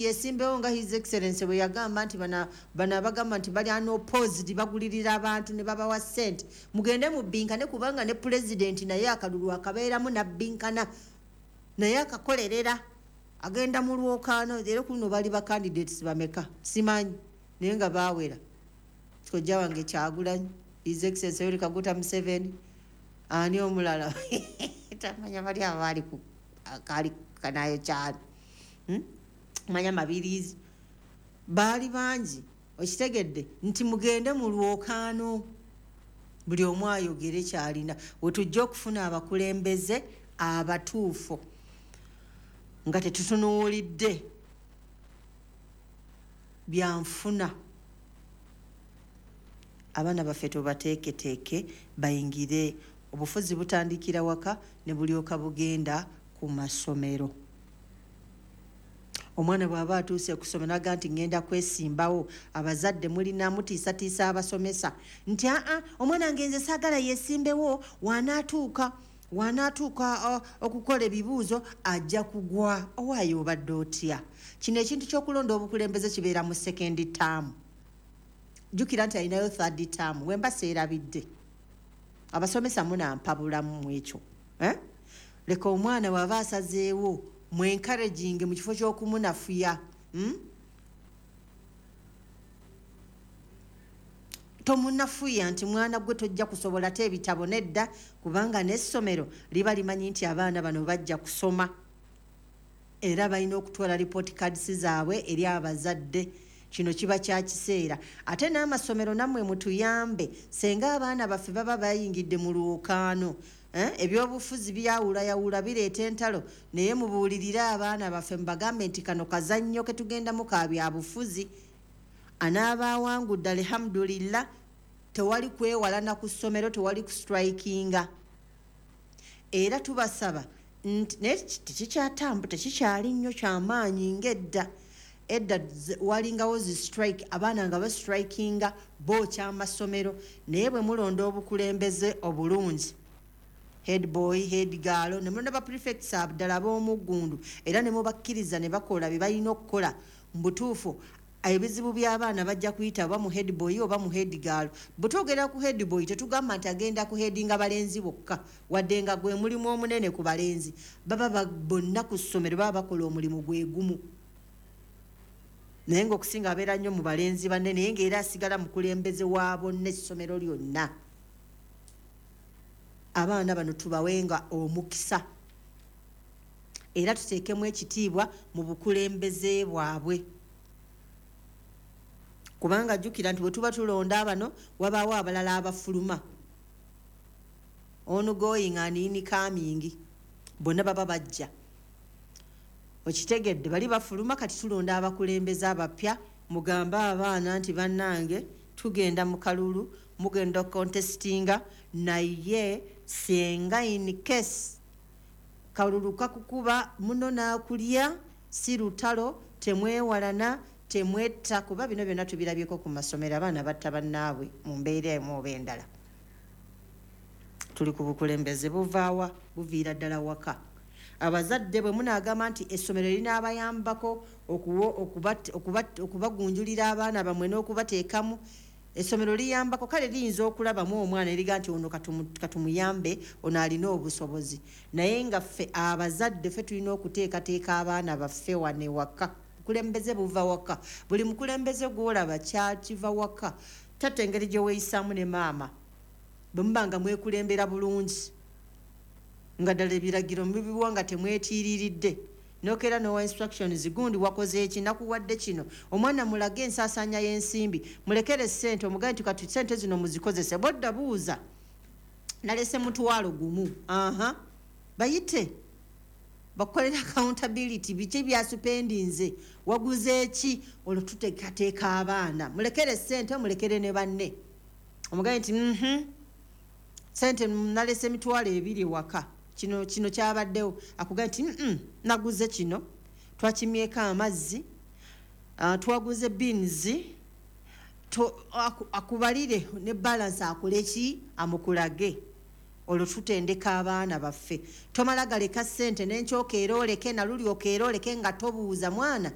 Yesimbewo nga His Excellence bwe yagamba nti bano abagamba nti bali unopposed bagulirira abantu ne babawa ssente, mugende mubbinkane, kubanga ne pulezidenti naye akalulu akabeeramu nabbinkana naye akakolerera, agenda mu lwokaano. Era kuno bali ba candidates bameka simanyi, naye nga baawera kojja wange Kyagulanyi, His Excellence Yoweri Kaguta Museveni, ani omulala tamanya, bali abaali ku kali kanayo kyano, Manya Mabirizi, baali bangi. Okitegedde nti mugende mu lwokaano, buli omu ayogere kyalina, wetujja okufuna abakulembeze abatuufu nga tetutunuulidde byanfuna. Abaana baffe tubateeketeeke bayingire obufuzi. Butandikira waka ne bulyoka bugenda ku masomero. Omwana bw'aba atuuse kusoma naga nti ngenda kwesimbawo, abazadde mulina mutiisatiisa abasomesa nti aa, omwana ngenze saagala yesimbewo, wanaatuuka okukola ebibuuzo ajja kugwa. Owaayo obadde otya? Kino ekintu ky'okulonda obukulembeze kibeera mu second term. Jjukira nti alinayo third term. Wemba seerabidde, abasomesa munampabulamu mu ekyo, eh? Leka omwana bw'aba asazeewo mu encouraging mu kifo ky'okumunafuya, Tomunafuya nti mwana gwe tojja kusobola te ebitabo, nedda, kubanga n'essomero liba limanyi nti abaana bano bajja kusoma era balina okutwala report cards zaabwe eri abazadde. Kino kiba kya kiseera. Ate n'amasomero nammwe mutuyambe, senga abaana baffe baba bayingidde mu lwokaano, eh? Ebyobufuzi byawulayawula, bireeta entalo, naye mubuulirire abaana baffe, mubagambe nti kano kazannyo ketugendamu ka byabufuzi, anaaba awangudde alhamdulillah. Tewali kwewalana ku ssomero, tewali kustrikinga. Era tubasaba nti naye tekikyatambu, tekikyali nnyo kyamaanyi ng'edda. Edda walingawo zi strike, abaana nga bastrikinga bookya amasomero. Naye bwe mulonda obukulembeze obulungi, head boy, head girl, ne mulonda ba prefects ddala ab'omuggundu, era ne mubakkiriza ne bakola bye balina okukola mu butuufu, ebizibu by'abaana bajja kuyita oba mu head boy oba mu head girl. Bwe twogera ku head boy, tetugamba nti agenda ku headinga balenzi bokka, wadde nga gwe mulimu omunene ku balenzi. Baba bonna ku ssomero baba bakola omulimu gwe gumu, naye ng'okusinga abeera nnyo mu balenzi banne, naye ng'era asigala mukulembeze wa bonna essomero lyonna. Abaana bano tubawenga omukisa era tuteekemu ekitiibwa mu bukulembeze bwabwe, kubanga jjukira nti bwe tuba tulonda bano, wabaawo abalala abafuluma, ongoing and incoming, bonna baba bajja. Okitegedde? Bali bafuluma, kati tulonda abakulembeze abapya. Mugambe abaana nti bannange, tugenda mu kalulu, mugenda contestinga, naye senga in case kalulu kakukuba muno n'akulya, si lutalo, temwewalana, temwetta, kuba bino byonna tubirabyeko ku masomero, abaana batta bannaabwe mu mbeera emu oba endala. Tuli ku bukulembeze. Buvaawa? Buviira ddala waka. Abazadde bwe munaagamba nti essomero linaabayambako okubagunjulira abaana bammwe n'okubateekamu, essomero liyambako, kale liyinza okulabamu omwana eriga nti ono katumuyambe, ono alina obusobozi, naye nga ffe abazadde ffe tulina okuteekateeka abaana baffe wane waka. Bukulembeze buva waka. Buli mukulembeze gwolaba kyakiva waka. Taata engeri gye weeyisaamu ne maama, bwe muba nga mwekulembera bulungi, nga ddala ebiragiro mubiwa nga temwetiiriridde, nokeera nowa instructions, gundi wakoze eki, nakuwadde kino. Omwana mulage ensaasaanya y'ensimbi, mulekere sente, omugambe nti kati sente zino muzikozese, bodda buuza nalese 10,000. Aha, bayite bakukolera accountability, biki byaspendinze, waguze eki. Olwo tuteekateeka abaana. Mulekere sente, mulekere ne banne, omugambe nti sente nalese 20,000 waka, kino kino kyabaddewo. Akugambe nti naguze kino, twakimyeko amazzi, twaguze beans, akubalire ne balance, akole ki, amukulage. Olwo tutendeka abaana baffe. Tomala galeka ssente, nenkyokeera oleke, naluli okeera oleke nga tobuuza mwana.